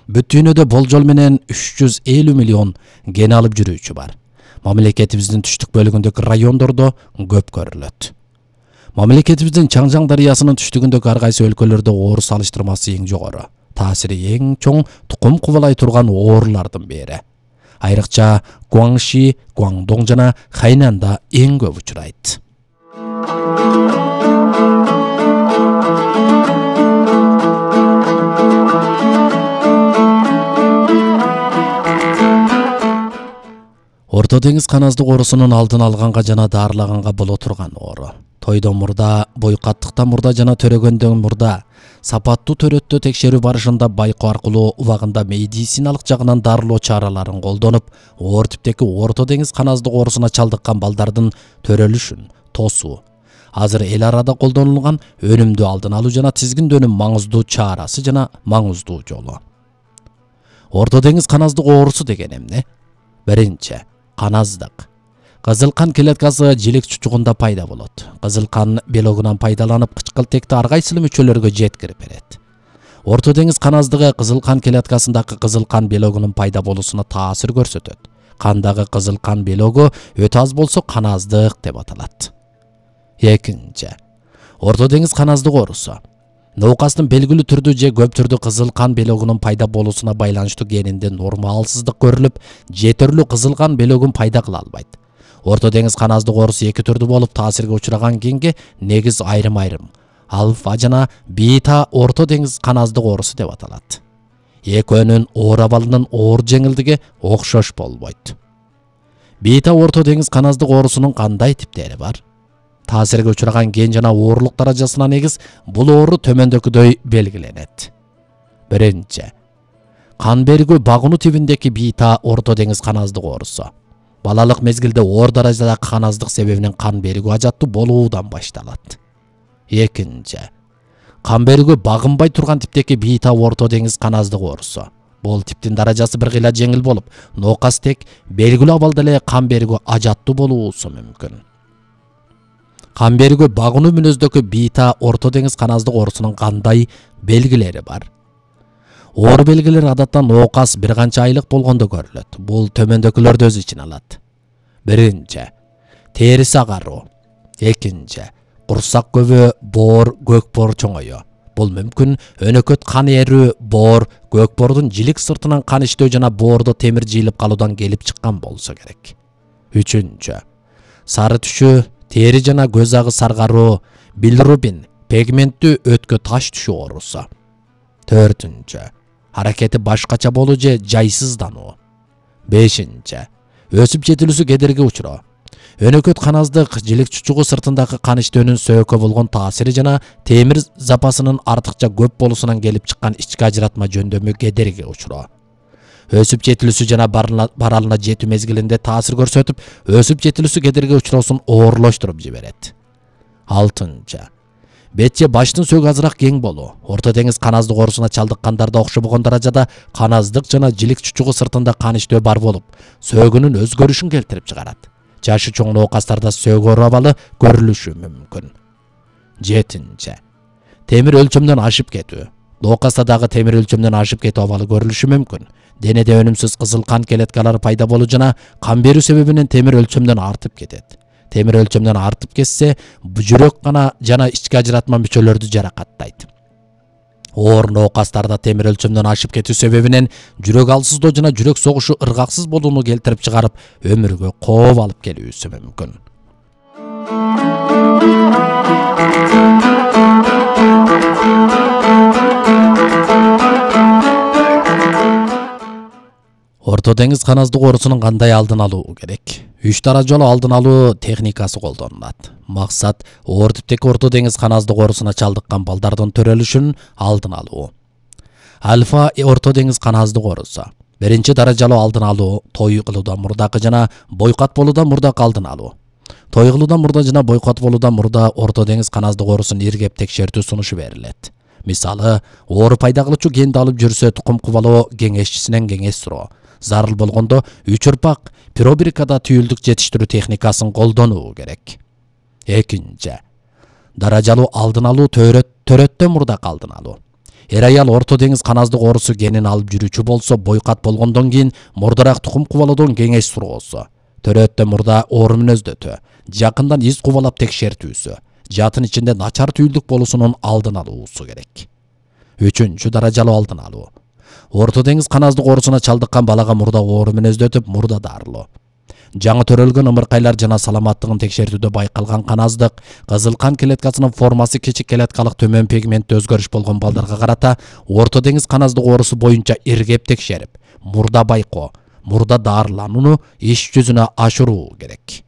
Бүт дүйнөдө болжол менен 350 миллион ген алып жүрүүчү бар. Мамлекетибиздин түштүк бөлүгүндөгү райондордо көп көрүлөт. Мамлекетибиздин Чаңжаң дарыясынын түштүгүндөгү ар кайсы өлкөлөрдө оор салыштырмасы эң жогору, таасири эң чоң тукум кубалай турган оорулардын бири. Айрыкча Гуаңши, Гуаңдоң жана Хайнанда эң көп учурайт. Орто деңиз каназдык оорусунун алдын алганга жана даарылаганга боло турган оору. Тойдон мурда, бойкаттыктан мурда жана төрөгөндөн мурда сапаттуу төрөттө текшерүү барышында байкоо аркылуу убагында медициналык жагынан дарылоо чараларын колдонуп, оор типтеги орто деңиз каназдык оорусуна чалдыккан балдардын төрөлүшүн тосуу. Азыр эл арада колдонулган өнүмдүү алдын алуу жана тизгиндөөнүн маңыздуу чарасы жана маңыздуу жолу. Орто деңиз каназдык оорусу деген эмне? Биринчи, каназдык. Кызыл кан клеткасы жилик чучугунда пайда болот. Кызыл кан белогунан пайдаланып, кычкылтекти ар кайсыл мүчөлөргө жеткирип берет. Орто деңиз каназдыгы кызыл кан клеткасындагы кызыл кан белогунун пайда болуусуна таасир көрсөтөт. Кандагы кызыл кан белогу өтө аз болсо каназдык деп аталат. Экинчи, орто деңиз каназдык оорусу. Ноокастын белгилүү түрдүү же көп түрдүү кызыл кан белогунун пайда болуусуна байланыштуу генинде нормалсыздык көрүлүп, жетерлүү кызыл кан белогун пайда кыла албайт. Орто деңиз каназдык оорусу эки түрдүү болуп, таасирге учураган генге негиз айрым-айрым альфа жана бета орто деңиз каназдык оорусу деп аталат. Экөөнүн оор абалынын оор жеңилдиги окшош болбойт. Бета орто деңиз каназдык оорусунун кандай типтери бар? Таасирге учураган ген жана оорлук даражасына негиз бул оору төмөндөгүдөй белгиленет. Биринчи, кан бергүү багынуу тибиндеги бета орто деңиз каназдык оорусу. Балалык мезгилде оор даражадагы каназдык себебинен кан бергүү ажаттуу болуудан башталат. Экинчи, кан бергүү багынбай турган типтеги бета орто деңиз каназдык оорусу. Бул типтин даражасы бир кыйла жеңил болуп, ноокас тек белгилүү абалда эле кан бергүү ажаттуу болуусу мүмкүн. Кан бергүү багынуу мүнөздөгү бета орто деңиз каназдык оорусунун кандай белгилери бар? Оор белгилер адаттан ноокас бир канча айлык болгондо көрүлөт. Бул төмөндөгүлөрдү өз ичине алат. Биринчи, териси агаруу. Экинчи, курсак көбү, боор, көкбоор чоңою. Бул мүмкүн өнөкөт кан эрүү, боор, көкбоордун жилик сыртынан кан иштөө жана боордо темир жыйылып калуудан келип чыккан болсо керек. Үчүнчү, сары түшүү, тери жана көз агы саргаруу, билирубин, пигменттүү өткө таш түшүү оорусу. Төртүнчү, аракети башкача болуу же жайсыздануу. Бешинчи, өсүп жетилүүсү кедерги учуроо. Өнөкөт каназдык жилик чучугу сыртындагы кан иштөөнүн сөөгкө болгон таасири жана темир запасынын артыкча көп болуусунан келип чыккан ички ажыратма жөндөмү кедерги учуроо. Өсүп жетилүүсү жана баралына жетүү мезгилинде таасир көрсөтүп, өсүп жетилүүсү кедерги учуроосун оорлоштуруп жиберет. Алтынчы, бет же баштын сөөгү азыраак кең болуу. Орто деңиз каназдык оорусуна чалдыккандарда окшобогон даражада каназдык жана жилик чучугу сыртында кан иштөө бар болуп, сөөгүнүн өзгөрүшүн келтирип чыгарат. Жашы чоң ноокастарда сөөгү оор абалы көрүлүшү мүмкүн. Жетинчи, темир өлчөмдөн ашып кетүү. Ноокаста дагы темир өлчөмдөн ашып кетүү абалы көрүлүшү мүмкүн. Денеде өнүмсүз кызыл кан клеткалары пайда болуу жана кан берүү себебинен темир өлчөмдөн артып кетет. Темир өлчөмдөн артып кетсе, жүрөк кана жана ички ажыратма мүчөлөрдү жаракаттайт. Оор ноокастарда темир өлчөмдөн ашып кетүү себебинен жүрөк алсыздоо жана жүрөк согушу ыргаксыз болууну келтирип чыгарып, өмүргө кооп алып келүүсү мүмкүн. Орто деңиз каназдык оорусунун кандай алдын алуу керек? 3 даражалуу алдын алуу техникасы колдонулат. Максат оор типтеги орто деңиз каназдык оорусуна чалдыккан балдардын төрөлүшүн алдын алуу. Альфа орто деңиз каназдык оорусу. Биринчи даражалуу алдын алуу той кылуудан мурдакы жана бойкат болуудан мурдакы алдын алуу. Той кылуудан мурда жана бойкат болуудан мурда орто деңиз каназдык оорусун иргеп текшертүү сунушу берилет. Мисалы, оору пайда кылуучу генди алып жүрсө тукум кубалоо кеңешчисинен кеңеш суроо. Зарыл болгондо 3 ырпак пробиркада түйүлдүк жетиштирүү техникасын колдонуу керек. Экинчи, даражалуу алдын алуу төрөттөн мурдакы алдын алуу. Эр аял Орто деңиз каназдык оорусу генин алып жүрүүчү болсо, бойкат болгондон кийин мурдараак тукум кубалоодон кеңеш суроосу, төрөттө мурда оору мүнөздөтүү, жакындан из кубалап текшертүүсү, жатын ичинде начар түйүлдүк болуусунун алдын алуусу керек. 3. Даражалуу алдын алуу. Орто деңиз каназдык оорусуна чалдыккан балага мурда оору мүнөздөтүп, мурда дарылоо. Жаңы төрөлгөн ымыркайлар жана саламаттыгын текшертүүдө байкалган каназдык, кызыл кан клеткасынын формасы кичик клеткалык төмөн пигментте өзгөрүш болгон балдарга карата Орто деңиз каназдык оорусу боюнча иргеп текшерип, мурда байкоо, мурда дарыланууну иш жүзүнө ашыруу керек.